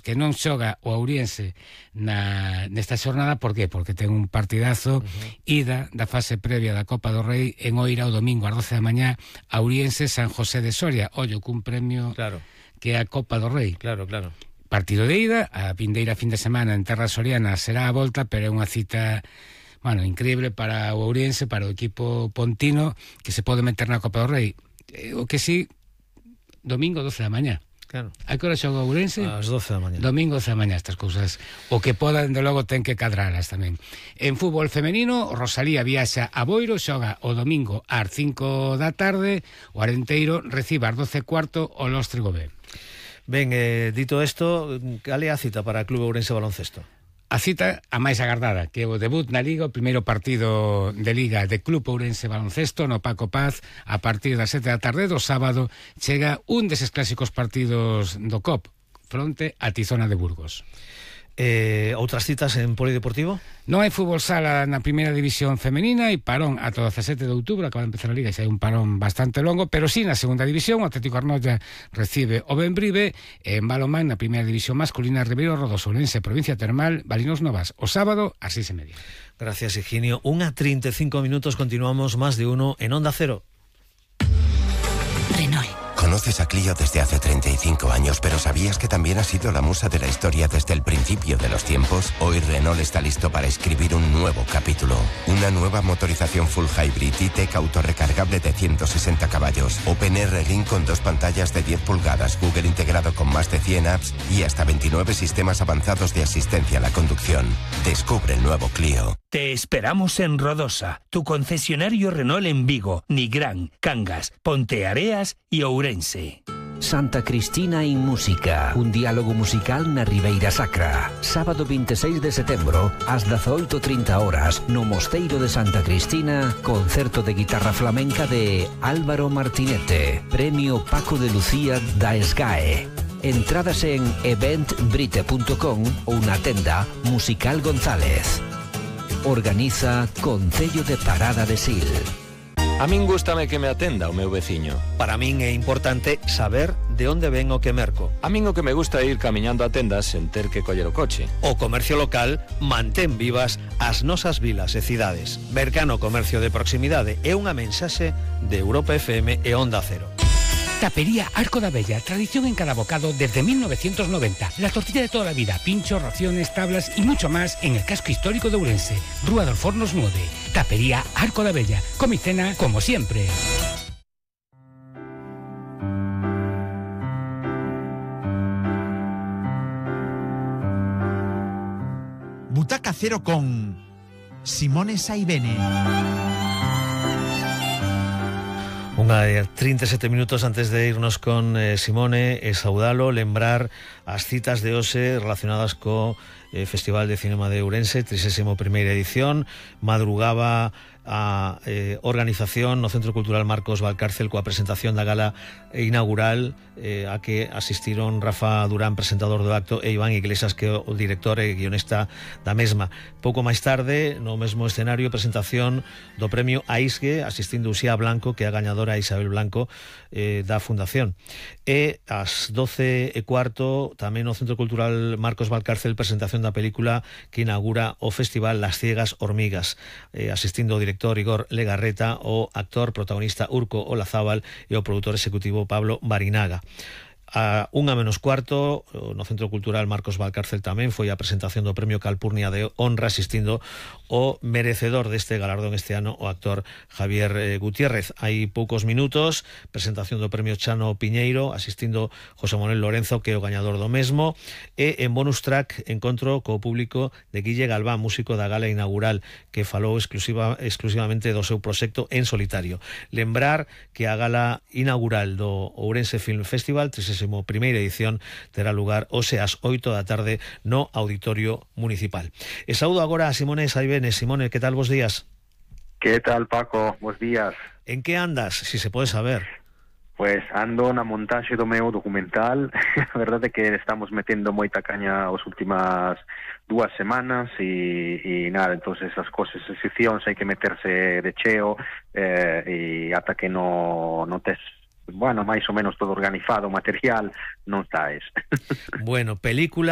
que non xoga o Ouriense nesta xornada. Por qué? Porque ten un partidazo ida da fase previa da Copa do Rei en Oira o domingo ás 12 da mañá a Ouriense San José de Soria, ollo cun premio que é a Copa do Rei. Claro. Partido de ida, a vindeira fin de semana en terra soriana será a volta, pero é unha cita increíble para o Ouriense, para o equipo pontino, que se pode meter na Copa do Rei. O que sí, domingo 12 da mañá. Claro. A que hora xoga o Ourense? Ás 12 da mañá. Domingo 12 da mañá, estas cousas. O que poda, dende logo, ten que cadralas tamén. En fútbol femenino, Rosalía viaxa a Boiro, xoga o domingo ás 5 da tarde, o Arenteiro recibe ás 12:15 o Lóstrego B. Ben, dito isto, cal é a cita para o Club Ourense Baloncesto? A cita a máis agardada, que é o debut na Liga, o primeiro partido de Liga de Club Ourense Baloncesto no Paco Paz, a partir das 7 da tarde do sábado, chega un deses clásicos partidos do COP, fronte a Tizona de Burgos. Outras citas en polideportivo? Non hai fútbol sala na primeira división femenina e parón ata o 17 de outubro, acaba de empezar a Liga, e hai un parón bastante longo, pero sí na segunda división, o Atlético Arnoia recibe o Benbrive, en balonmán na primeira división masculina, Ribeiro Rodos, Ourense, Provincia Termal, Balinos Novas, o sábado ás 6:30. Gracias, Higinio. 1:35 minutos, continuamos Más de Uno en Onda Cero. Renault. Conoces a Clio desde hace 35 años, pero ¿sabías que también ha sido la musa de la historia desde el principio de los tiempos? Hoy Renault está listo para escribir un nuevo capítulo. Una nueva motorización full hybrid E-Tech autorrecargable de 160 caballos. OpenR Link con 2 pantallas de 10 pulgadas, Google integrado con más de 100 apps y hasta 29 sistemas avanzados de asistencia a la conducción. Descubre el nuevo Clio. Te esperamos en Rodosa, tu concesionario Renault en Vigo, Nigrán, Cangas, Ponteareas y Ourense. Santa Cristina en Música, un diálogo musical na Ribeira Sacra. Sábado 26 de setembro, ás 18:30 no Mosteiro de Santa Cristina, concerto de guitarra flamenca de Álvaro Martinete, premio Paco de Lucía da SGAE. Entradas en eventbrite.com ou na tenda Musical González. Organiza Concello de Parada de Sil. A min gústame que me atenda o meu veciño. Para min é importante saber de onde ven o que merco. A min o que me gusta é ir camiñando a tendas sen ter que coller o coche. O comercio local mantén vivas as nosas vilas e cidades. Mercano Comercio de Proximidade é unha mensaxe de Europa FM e Onda Cero. Tapería Arco da Bella, tradición en cada bocado desde 1990. La tortilla de toda la vida, pinchos, raciones, tablas y mucho más en el casco histórico de Ourense. Rúa dos Fornos 9. Tapería Arco da Bella. Come y cena como siempre. Butaca Cero con Simone Saibene. Unha 37 minutos antes de irnos con Simone e saudalo, lembrar as citas de hoxe relacionadas co Festival de Cinema de Ourense, 31ª edición. Madrugaba a organización no Centro Cultural Marcos Valcárcel coa presentación da gala inaugural a que asistiron Rafa Durán, presentador do acto, e Iván Iglesias, que é o director e guionista da mesma. Pouco máis tarde, no mesmo escenario, presentación do premio AISGE, asistindo Uxía Blanco, que é a gañadora Isabel Blanco da Fundación. E ás 12:15, tamén no Centro Cultural Marcos Valcárcel, presentación da película que inaugura o festival Las Ciegas Hormigas, asistindo o director Igor Legarreta, o actor protagonista Urco Olazábal e o produtor executivo Pablo Barinaga. A 1:15 no Centro Cultural Marcos Valcárcel tamén foi a presentación do Premio Calpurnia de Honra, asistindo o merecedor deste galardón este ano, o actor Javier Gutiérrez. Hai poucos minutos, presentación do Premio Chano Piñeiro, asistindo José Manuel Lorenzo, que é o gañador do mesmo, e en bonus track encontro co público de Guille Galván, músico da gala inaugural, que falou exclusivamente do seu proxecto en solitario. Lembrar que a gala inaugural do Ourense Film Festival, 31ª edición, terá lugar hoxe ás 8 da tarde no Auditorio Municipal. E saúdo agora a Simone Saibene. Simone, que tal, bos días? Que tal, Paco? Bos días. En que andas, si se pode saber? Pues ando na montaxe do meu documental. A verdade é que estamos metendo moita caña as últimas 2 semanas e nada, entonces as cosas, as seccións hai que meterse de cheo e ata que non tes bueno, máis ou menos todo organizado, material, non está Bueno, película